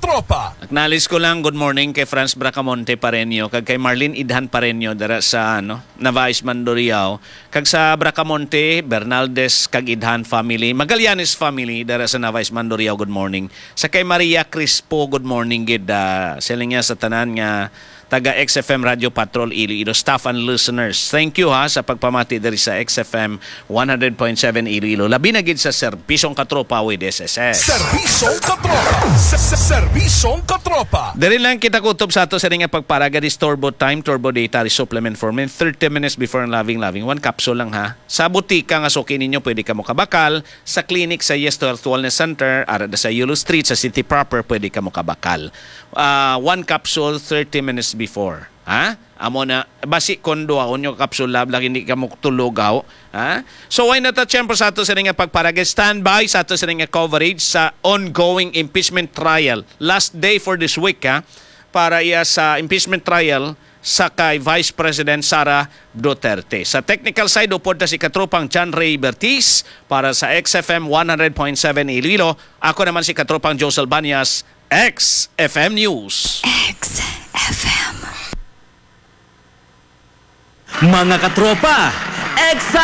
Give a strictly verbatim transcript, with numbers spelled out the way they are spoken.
Katropa. Acknowledge ko lang, good morning kay Franz Bracamonte Pareño, kag kay Marlene Idhan Pareño dira sa, ano, Navaez, Mandurriao, kag sa Bracamonte, Bernaldez kag Idhan family, Magallanes family dira sa Navaez, Mandurriao, good morning. Sa kay Maria Crispo, good morning gid, ah, siling niya sa tanan nga taga X F M Radio Patrol Iloilo, staff and listeners. Thank you, ha, sa pagpamati diri sa X F M one hundred point seven Iloilo. Labi na gid sa Serbisyong Katropa with S S S. Serbisyong Katropa. Se- se- Serbisyong Katropa. Diri lang kita kutob sa ato sa nga pagparaga this Turbo Time, Turbo Dietary Supplement for Men, thirty minutes before ang loving, loving. One capsule lang, ha. Sa butika nga suki ninyo, pwede ka mokabakal. Sa clinic sa Yes to Health Wellness Center, ara da sa Yulo Street, sa City Proper, pwede ka mokabakal. Ah, one capsule, thirty minutes before. Ha? Amo na, basi kon duhaon yung kapsula, lagi hindi ka mo tulugaw. Ha? So, why not, siyempre, sa ato sa nga pagparagay, standby sa ato sa nga coverage sa ongoing impeachment trial. Last day for this week, ha? Para iya sa impeachment trial sa kay Vice President Sara Duterte. Sa technical side, upod na si katropang John Ray Bertiz para sa X F M one hundred point seven Iloilo. Ako naman si katropang Josel Banyas, X F M News. X F M. Mga katropa, X